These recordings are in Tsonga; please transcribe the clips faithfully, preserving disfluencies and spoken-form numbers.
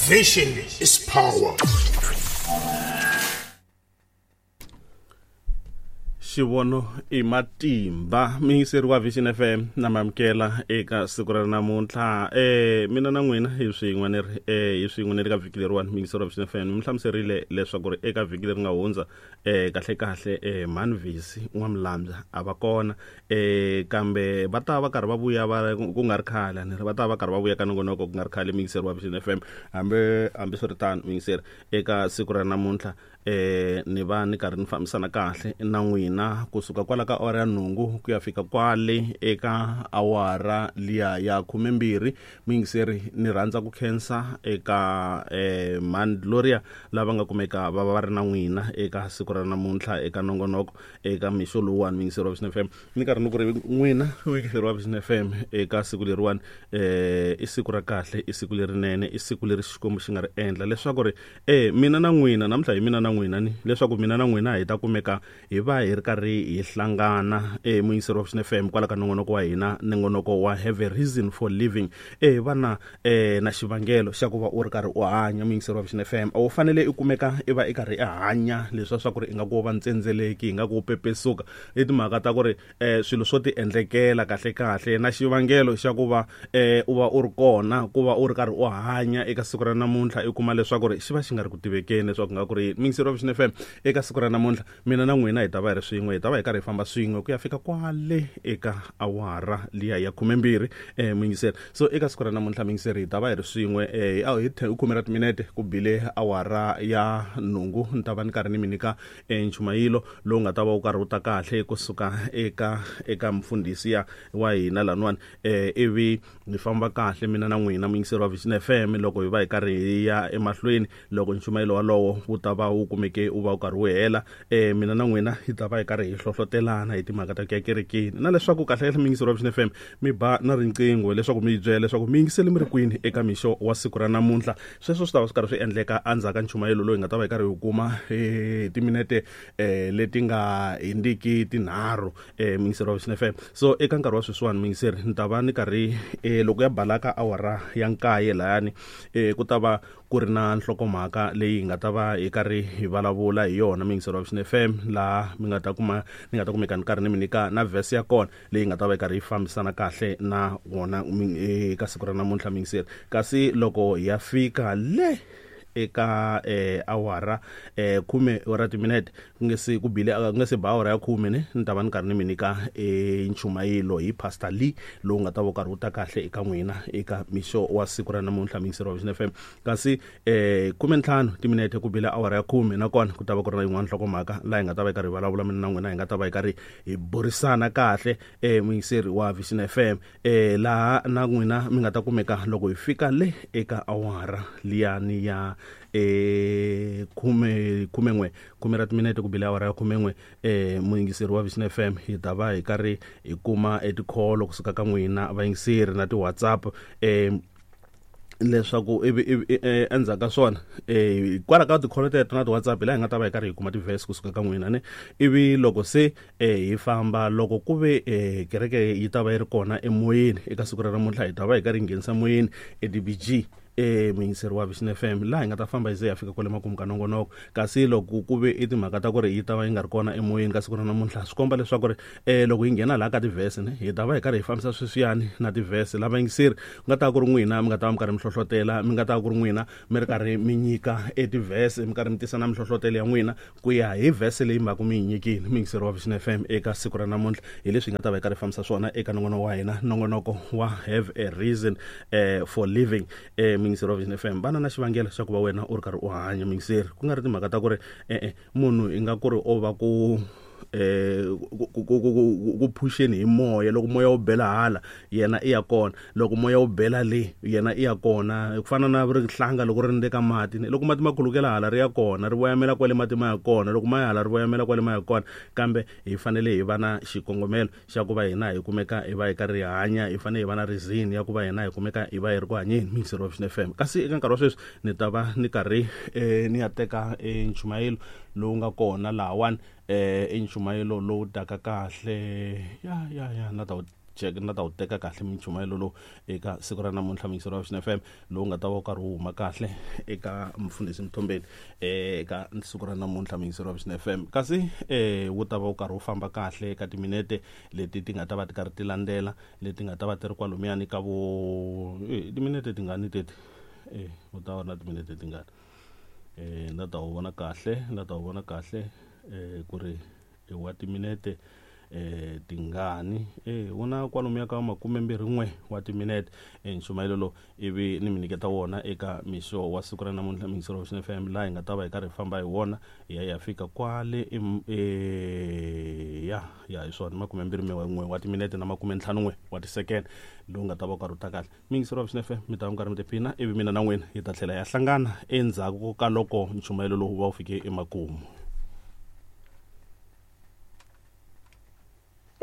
Vision is power. Xivono i matimba miyingiseri wa Vision F M na mamukela eka siku ra namuntlha eh mina na n'wina hi swin'we ni ri eh hi swin'we ni ri ka vhiki leriwani miyingiseri wa Vision F M mi hlamuserile leswaku ri eka vhiki leri nga hundza eh kahle kahle eh Manvisi N'wamulambya a va kona eh kambe va ta va karhi va vuya va ku nga ri khale ni ri va ta va karhi va vuya ka nongonoko ku nga ri khale miyingiseri wa Vision F M hambi hambiswiritano miyingiseri eka siku ra namuntlha eh ni va ni karhi ni fambisana kahle na n'wina kusuka kwala ka awara ya nhungu ku ya fika kwale eka awara liya ya khumembirhi muyingiseri ni rhandza ku khensa eka eh Man Gloria lava nga kumeka va va ri na n'wina eka siku ra namuntlha eka nongonoko eka mixo lowuwani muyingiseri wa Vision F M ni karhi ni ku ri n'wina muyingiseri wa Vision F M eka siku leriwani eh i siku ra kahle i siku lerinene i siku leri Xikwembu xi nga ri endla leswaku ri eh mina na n'wina namuntlha hi mina na n'wina ni leswaku mina na n'wina hi ta kumeka hi va hi ri karhi hi hlangana eh muyingiseri wa Vision F M kwala ka nongonoko wa hina nongonoko wa Have a Reason for Living eh vana eh na xivangelo xa ku va u ri karhi u hanya muyingiseri wa Vision F M a wu fanele i kumeka i va i karhi i hanya leswa swa ku ri i nga ku va ntsendzeleki hi nga ku pepesuka i timhaka ta ku ri eh swilo swo ti endlekela kahle kahle na xivangelo xa ku va eh u va u ri kona ku va u ri karhi u hanya eka siku ra namuntlha i kuma leswaku ri xi va xi nga ri ku tivekeni leswaku nga ku ri muyingiseri wa Vision F M eka siku ra namuntlha mina na n'wina hi ta va hi ri swin'we hi ta va hi karhi hi famba swin'we ku ya fika kwale eka awara liya ya khumembirhi eh muyingiseri so eka siku ra namuntlha muyingiseri hi ta va hi ri swin'we eh hi khume ra timinete ku bile awara ya nhungu ni ta va ni karhi ni mi nyika nchumayilo lowu nga ta va wu karhi wu ta kahle kusuka eka eka mfundhisi ya wa hina laniwani eh ivi hi famba kahle mina na n'wina muyingiseri wa Vision F M loko hi va hi karhi hi ya emahlweni loko nchumayelo walowo wu ta va wu kumeke wu va wu karhi wu hela eh mina na n'wina hi ta va hi karhi hi hlohlotelana hi timhaka ta ku ya kerekeni na leswaku kahle kahle muyingiseri wa Vision F M mi ba na riqingho leswaku mi byela leswaku mi yingisele mi ri kwini eka mixo wa siku ra namuntlha sweswo swi ta va swi karhi swi endleka endzhaku ka nchumayelo lowu hi nga ta va hi karhi hi kuma hi timinete eh leti nga hindziki tinharhu eh muyingiseri wa Vision F M so eka nkarhi wa sweswiwani muyingiseri ni ta va ni karhi eh loko ya balaka awara ya nkaye layani eh ku ta va ku ri na nhlokomhaka leyi hi nga ta va hi karhi hi vulavula hi yona muyingiseri wa Vision F M laha mi nga ta kuma ni nga ta kumeka ni karhi ni mi nyika na verse ya kona leyi nga ta va yi karhi yi fambisana kahle na wona eka siku ra namuntlha muyingiseri kasi loko hi ya fika le eka eh awara eh khume ra timinete ku nge se ku bile ku nge se ba awara ya khume ne ni ta va ni karhi ni mi nyika eh nchumayelo hi Pastor Lee lowu nga ta va karhi wu ta kahle eka n'wina eka mixo wa siku ra namuntlha muyingiseri wa Vision F M kasi eh khume ntlhanu timinete ku bile awara ya khume nakona ku ta va ku ri na yin'wana nhlokomhaka laha hi nga ta va hi karhi hi vulavula mina na n'wina hi nga ta va hi karhi hi burisana kahle eh muyingiseri wa Vision F M eh laha na n'wina mi nga ta kumeka loko hi fika le eka awara liyani ya eh khume khumen'we khume ra timinete ku bile awara ya khumen'we eh muyingiseri wa Vision F M hi ta va hi karhi hi kuma etikholo kusuka ka n'wina vayingiseri na ti-WhatsApp eh leswaku ivi endzhaku ka swona eh kwala ka tikholo teto na ti-WhatsApp laha hi nga ta va hi karhi hi kuma ti-verse kusuka ka n'wina ne ivi loko se eh hi famba loko ku ve eh kereke yi ta va yi ri kona emoyeni eka siku ra namuntlha hi ta va hi karhi hi nghenisa moyeni e D B G eh muyingiseri wa Vision F M laha hi nga ta famba hi ze hi ya fika kwale makumu ka nongonoko kasi loko ku ve i timhaka ta ku ri yi ta va yi nga ri kona emoyeni ka siku ra namuntlha swi komba leswaku ri eh loko hi nghena laha ka tivhese ne hi ta va hi karhi hi fambisa sweswiyani na tivhese lava yingiseri ku nga ta ku ri n'wina mi nga ta va mi karhi mi hlohlotela mi nga ta ku ri n'wina mi ri karhi mi nyika etivhese mi karhi mi tisa na mihlohlotelo ya n'wina ku ya hi vhese leyi mhaka mi yi nyikile muyingiseri wa Vision F M eka siku ra namuntlha hi leswi hi nga ta va hi karhi hi fambisa swona eka nongonoko wa hina nongonoko wa Have a Reason eh for Living eh muyingiseri wa Vision F M vana na xivangelo xa ku va wena u ri karhi u hanya muyingiseri ku nga ri timhaka ta ku ri e-e munhu i nga ku ri o va ku eh ku ku ku phuxeni hi moya loko moya wu bela hala yena i ya kona loko moya wu bela le yena i ya kona ku fana na rihlanga loko ri ndeka mati loko mati ma khulukela hala ri ya kona ri voyamela kwale mati ma ya kona loko ma ya hala ri voyamela kwale ma ya kona kambe hi fanele hi va na xikongomelo xa ku va hina hi kumeka hi va hi karhi hi hanya hi fanele hi va na reason ya ku va hina hi kumeka hi va hi ri ku hanyeni muyingiseri wa Vision F M kasi eka nkarhi wa sweswi ni ta va ni karhi ni ya teka nchumayelo lowu nga kona lahawani eh i nchumayelo lowu taka kahle ya ya ya na ta na ta wu teka kahle minchumayelo lowu eka siku ra namuntlha muyingiseri wa Vision F M lowu nga ta va wu karhi wu huma kahle eka mufundhisi Mthombeni eka siku ra namuntlha muyingiseri wa Vision F M kasi eh wu ta va wu karhi wu famba kahle eka timinete leti ti nga ta va ti karhi ti landzela leti nga ta va ti ri kwalomuyani ka vo timinete tingani teti eh wu ta va na timinete tingani eh na ta wu vona kahle na ta wu vona kahle eh ku ri i wa timinete eh tingani eh wona kwalomuya ka makume mbirhi n'we wa timinete nchumayelo lowu ivi ni mi nyiketa wona eka mixo wa siku ra namuntlha muyingiseri wa Vision F M laha hi nga ta va hi karhi hi famba hi wona hi ya hi ya fika kwale e ya ya hi swona makume mbirhi n'we wa timinete na makume ntlhanu n'we wa tisekende lowu nga ta va u karhi u ta kahle muyingiseri wa Vision F M mi ta va mi karhi mi tiphina ivi mina na n'wina hi ta tlhela ya hlangana endzhaku ka loko nchumayelo lowu va wu fike emakumu.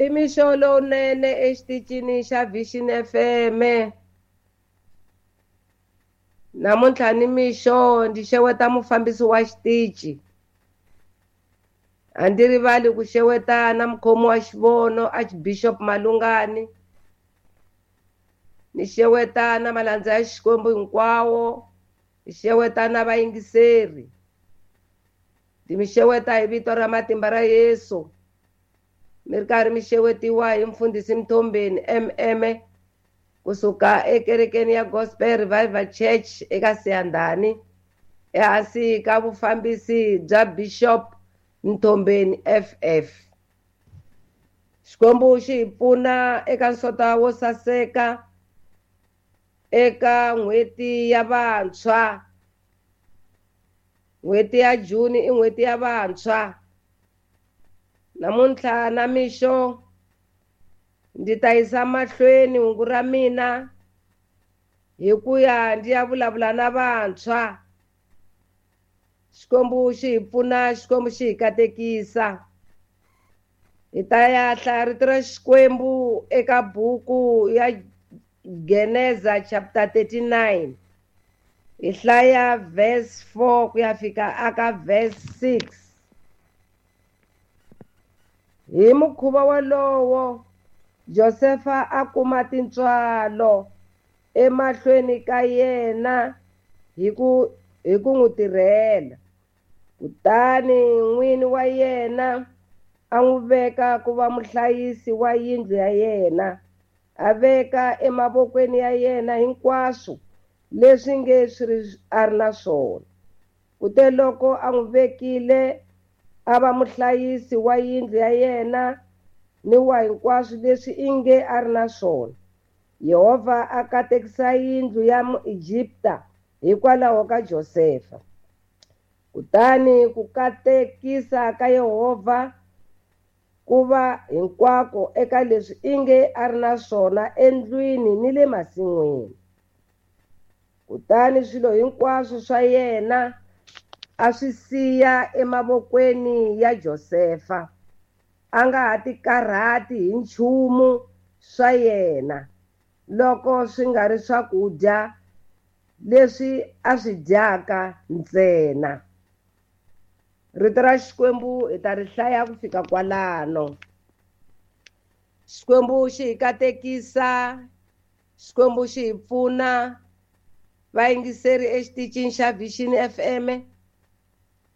I mixo lowunene exitichini xa Vision F M. Namuntlha ni mixo ndzi xeweta mufambisi wa xitichi. A ndzi rivali ku xeweta na mukhomi wa xivono Archbishop Malungani. Ni xeweta na malandza ya Xikwembu hinkwawo, ni xeweta na vayingiseri. Ndzi mi xeweta hi vito ra matimba ra Yesu. Mi ri karhi mi xewetiwa hi mfundhisi Mthombeni M M kusuka ekerekeni ya Gospel Revival Church eka Siyandhani ehansi ka vufambisi bya Bishop Mthombeni F F. Xikwembu xi hi pfuna eka nsota wo saseka eka n'hweti ya vantshwa. N'hweti ya Juni i n'hweti ya vantshwa. Namuntlha na mixo ndzi ta yisa mahlweni hungu ra mina hi ku ya ndzi ya vulavula na vantshwa. Xikwembu xi hi pfuna, Xikwembu xi hi katekisa. Hi ta ya hlaya rito ra Xikwembu eka buku ya Geneza chapter thirty-nine. Hi hlaya verse four ku ya fika aka verse six. Hi mukhuva wolowo Josefa a kuma tintswalo emahlweni ka yena hi ku hi ku n'wi tirhela. Kutani n'wini wa yena a n'wi veka ku va muhlayisi wa yindlu ya yena, a veka emavokweni ya yena hinkwaswo leswi nge swi ri a ri na swona. Kute loko a n'wi vekile a va muhlayisi wa yindlu ya yena ni wa hinkwaswo leswi inge a ri na swona, Yehovha a katekisa yindlu ya Muegipta hikwalaho ka Josefa. Kutani ku katekisa ka Yehovha ku va hinkwako eka leswi inge a ri na swona endlwini ni le masin'wini. Kutani swilo hinkwaswo swa yena a swi siya emavokweni ya Josefa, a nga ha tikarhati hi nchumu swa yena loko swi nga ri swakudya leswi a swi dyaka ntsena. Rito ra Xikwembu hi ta ri hlaya ku fika kwalano. Xikwembu xi hi katekisa, Xikwembu xi hi pfuna. Vayingiseri exitichini xa Vision F M,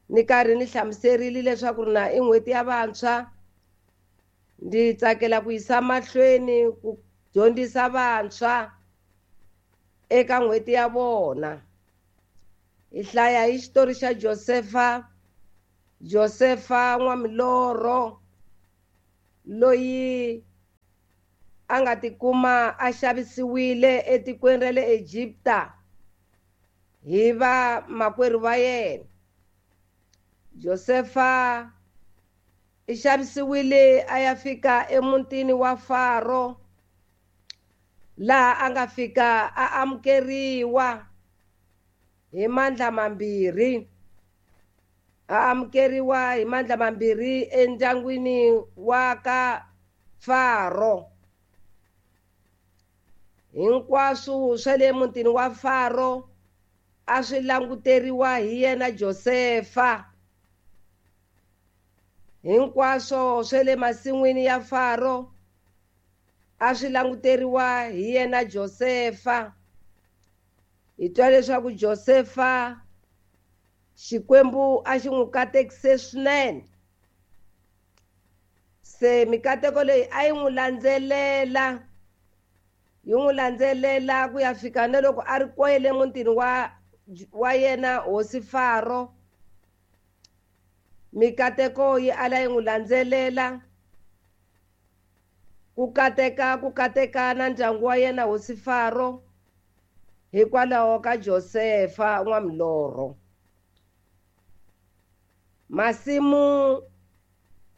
ni karhi ni hlamuserile leswaku na i n'hweti ya vantshwa. Ndzi tsakela ku yisa mahlweni ku dyondzisa vantshwa eka n'hweti ya vona. Hi hlaya hi xitori xa Josefa, Josefa n'wamilorho loyi a nga tikuma a xavisiwile etikweni ra le Egipta hi va makwerhu va yena. Josefa i xavisiwile a ya fika emutini wa Faro, laha a nga fika a amukeriwa hi mandla mambirhi. A amukeriwa hi mandla mambirhi endyangwini wa ka Faro. Hinkwaswo swa le mutini wa Faro a swi languteriwa hi yena Josefa. Hinkwaswo swa le masin'wini ya Faro a swi languteriwa hi yena Josefa. Hi twa leswaku Josefa Xikwembu a xi n'wi katekise swinene. Se mikateko leyi a yi n'wi landzelela, yi n'wi landzelela ku ya fika na loko a ri kwele mutini wa wa yena hosi Faro. Mikateko yi ala yi n'wi landzelela, ku kateka ku kateka na ndyangu wa yena hosi Faro hikwalaho ka Josefa n'wamilorho. Masimu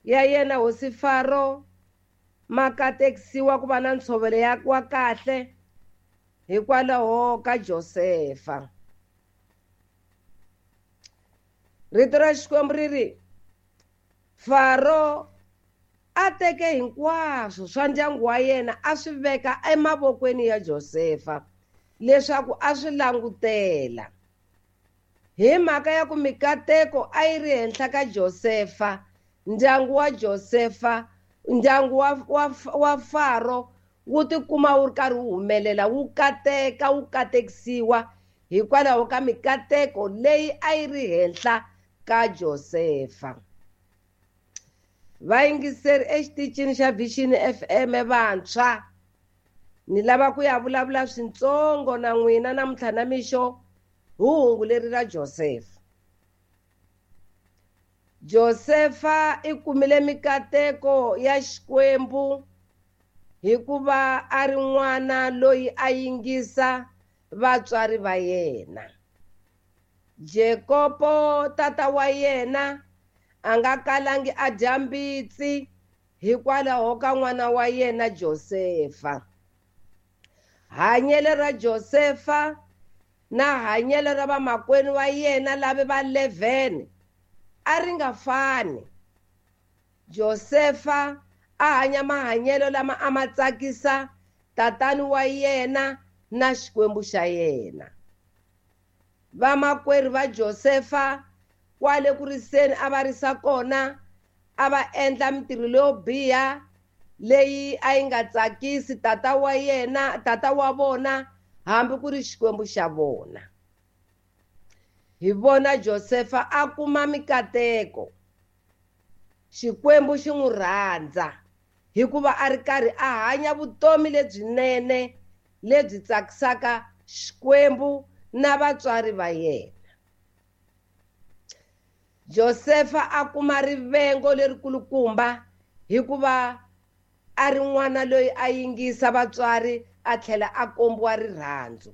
ya yena hosi Faro ma katekisiwa ku va na ntshovelo ya wa kahle hikwalaho ka Josefa. Rito ra Xikwembu ri ri Faro a teke hinkwaswo swa ndyangu wa yena a swi veka emavokweni ya Josefa leswaku a swi langutela. Hi mhaka ya ku mikateko a yi ri henhla ka Josefa, ndyangu wa Josefa, ndyangu wa, wa, wa Faro wu tikuma wu ri karhi wu humelela, wu kateka, wu katekisiwa hikwalaho ka mikateko leyi a yi ri henhla ka Josefa. Vayingiseri exitichini xa Vision F M vantshwa, ni lava ku ya vulavula swintsongo na n'wina namuntlha na mixo hi hungu leri ra Josefa. Josefa i kumile mikateko ya Xikwembu hikuva a ri n'wana loyi a yingisa vatswari va yena. Jakobo tata wa yena a nga kalangi a dya mbitsi hikwalaho ka n'wana wa yena Josefa. Hanyelo ra Josefa na hanyelo ra vamakwenu wa yena lava va eleven a ri nga fani. Josefa a hanya mahanyelo lama a ma tsakisa tatani wa yena na Xikwembu xa yena. Vamakwerhu va Josefa kwale ku riseni a va risa kona a va endla mintirho leyo biha leyi a yi nga tsakisi tata wa yena, tata wa vona, hambi ku ri Xikwembu xa vona. Hi vona Josefa a kuma mikateko, Xikwembu xi n'wi rhandza hikuva a ri karhi a hanya vutomi lebyinene lebyi tsakisaka Xikwembu na vatswari va yena. Josefa a kuma rivengo lerikulukumba hikuva a ri n'wana loyi a yingisa vatswari a tlhela a kombiwa rirhandzu.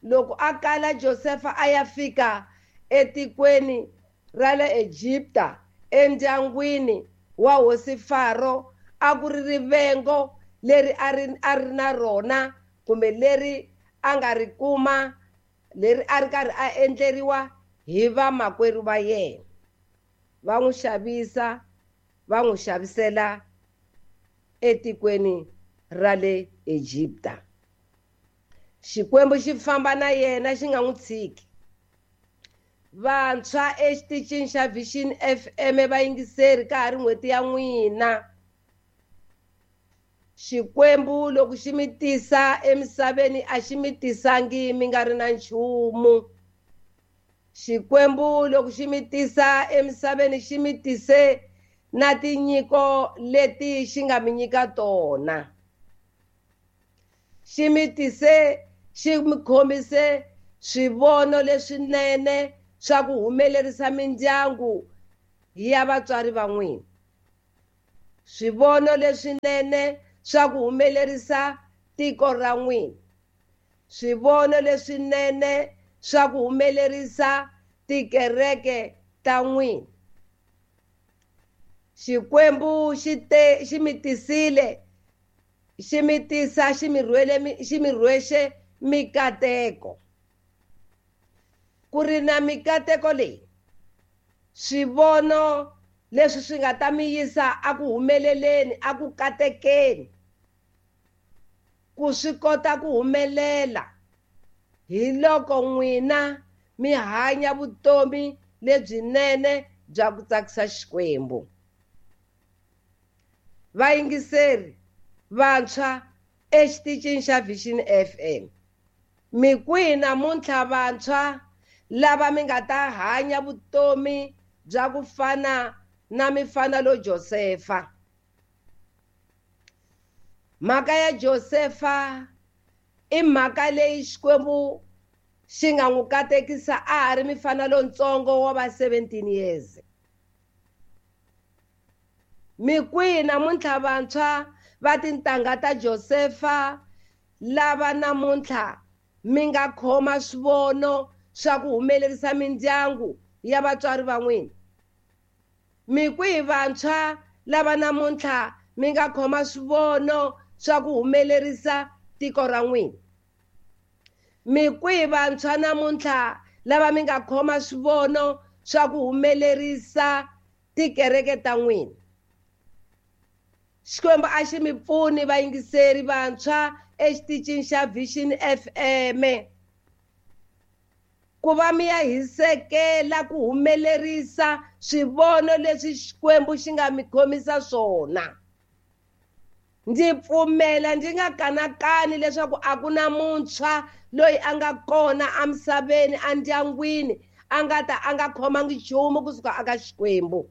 Loko a kala Josefa a ya fika etikweni ra le Egipta endyangwini wa hosi Faro, a ku ri rivengo leri a ri a ri na rona kumbe leri a nga ri kuma, leri a ri karhi a endleriwa hi vamakwerhu va yena. Va n'wi xavisa, va n'wi xavisela etikweni ra le Egipta. Xikwembu xi famba na yena xi nga n'wi tshiki. Vantshwa exitichini xa Vision F M vayingiseri ka ha ri n'hweti ya n'wina. Xikwembu loko xi mi tisa emisaveni a xi mi tisangi mi nga ri na nchumu. Xikwembu loko xi mi tisa emisaveni xi mi tise na tinyiko leti xi nga mi nyika tona. Xi mi tise, xi mi khomise swivono leswinene swa ku humelerisa mindyangu ya vatswari va n'wina, swivono leswinene swa ku humelerisa tiko ra n'wina, swivono leswinene swa ku humelerisa tikereke ta n'wina. Xikwembu xi te xi mi tisile, xi mi tisa, xi mi rhwele, xi mi rhwexe mikateko. Ku ri na mikateko leyi, swivono leswi swi nga ta mi yisa a ku humeleleni, a ku katekeni, ku swi kota ku humelela hi loko n'wina mi hanya vutomi lebyinene bya ku tsakisa Xikwembu. Vayingiseri, Vantshwa exitichini xa Vision F M. Mi kwihi namuntlha vantshwa lava mi nga ta hanya vutomi bya ku fana na mifana lo Josefa? Mhaka ya Josefa i mhaka leyi Xikwembu xi nga n'wi katekisa a ha ri mifana lontsongo wa va seventeen years. Mi kwihi namuntlha vantshwa va tintangha ta Josefa lava namuntlha mi nga khoma swivono swa ku humelerisa mindyangu ya vatswari va n'wina? Mi kwihi vantshwa lava namuntlha mi nga khoma swivono swa ku humelerisa tiko ra n'wina? Mi kwihi vantshwa namuntlha lava mi nga khoma swivono swa ku humelerisa tikereke ta n'wina? Xikwembu a xi mi pfuni vayingiseri vantshwa exitichini xa Vision F M ku va mi ya hisekela ku humelerisa swivono leswi Xikwembu xi nga mi khomisa swona. Ndzi pfumela ndzi nga kanakani leswaku a ku na muntshwa loyi a nga kona emisaveni endyangwini a nga ta a nga khomangi nchumu kusuka aka Xikwembu.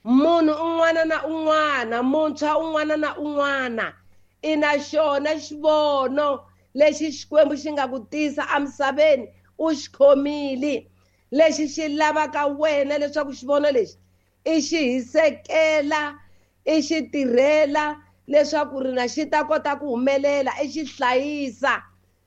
Munhu un'wana na un'wana, muntshwa un'wana na un'wana i na xona xivono lexi Xikwembu xi nga ku tisa emisaveni u xi khomile, lexi xi lavaka wena leswaku xivono lexi i xi hisekela, i xi tirhela leswaku ri na xi ta kota ku humelela, i xi hlayisa.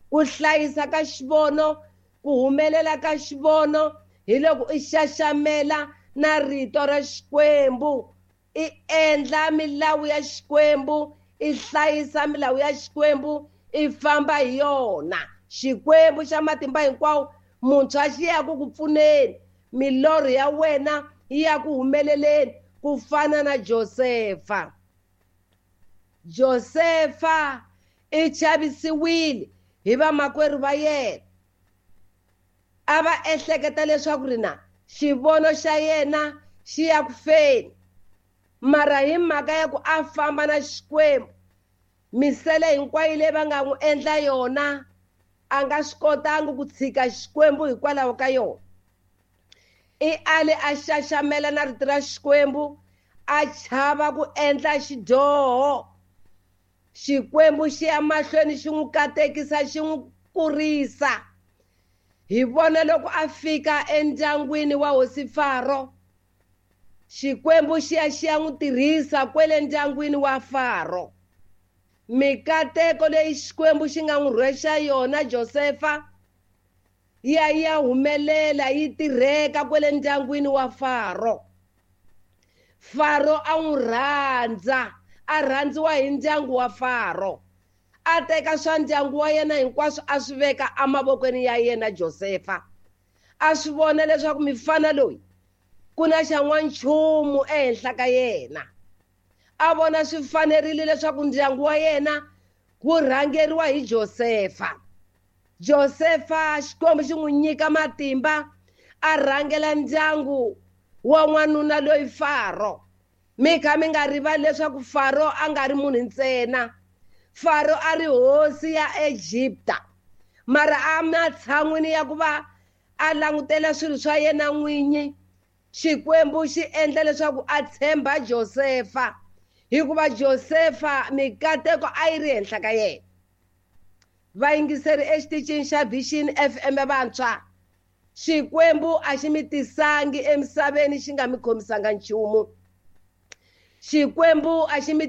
Ku hlayisa ka xivono, ku humelela ka xivono hi loko i xaxamela na rito ra Xikwembu, i endla milawu ya Xikwembu, i hlayisa milawu ya Xikwembu, i famba hi yona. Xikwembu xa matimba hinkwawo muntshwa xi ya ku ku pfuneni, milorho ya wena yi ya ku humeleleni ku fana na Josefa. Josefa i chavisiwile hi vamakwerhu va yena, a va ehleketa leswaku ri na xivono xa yena xi ya ku feni, mara hi mhaka ya ku a famba na Xikwembu, misele hinkwayo leyi va nga n'wi endla yona a nga swi kotangi ku tshika Xikwembu hikwalaho ka yona. I ale a xaxamela na rito ra Xikwembu, a chava ku endla xidyoho. Xikwembu xi ya mahlweni xi n'wi katekisa, xi n'wi kurisa. Hi vona loko a fika endyangwini wa hosi Faro, Xikwembu xi ya xi ya n'wi tirhisa kwele ndyangwini wa Faro. Mikateko leyi Xikwembu xi nga n'wi rhwexa yona Josefa ya ya humelela, yi tirheka kwele ndyangwini wa Faro. Faro a n'wi rhandza, a rhandziwa hi ndyangu wa Faro. A teka swa ndyangu wa yena hinkwaswo a swi veka emavokweni ya yena Josefa. A swi vona leswaku mifana loyi ku na xa n'wanchumu ehenhla ka yena. A vona swi fanerile leswaku ndyangu wa yena wu rhangeriwa hi Josefa. Josefa Xikwembu xi n'wi nyika matimba a rhangela ndyangu wa n'wanuna loyi Faro. Mi kha mi nga rivali leswaku Faro a nga ri munhu ntsena. Faro a ri hosi ya Egipta, mara a matshan'wini ya ku va a langutela swilo swa yena n'winyi, Xikwembu xi endla leswaku a tshemba Josefa, hikuva Josefa mikateko a yi ri henhla ka yena. Vayingiseri exitichini xa Vision F M vantshwa, Xikwembu a xi mi tisangi emisaveni xi nga mi khomisanga nchumu. Xikwembu a xi mi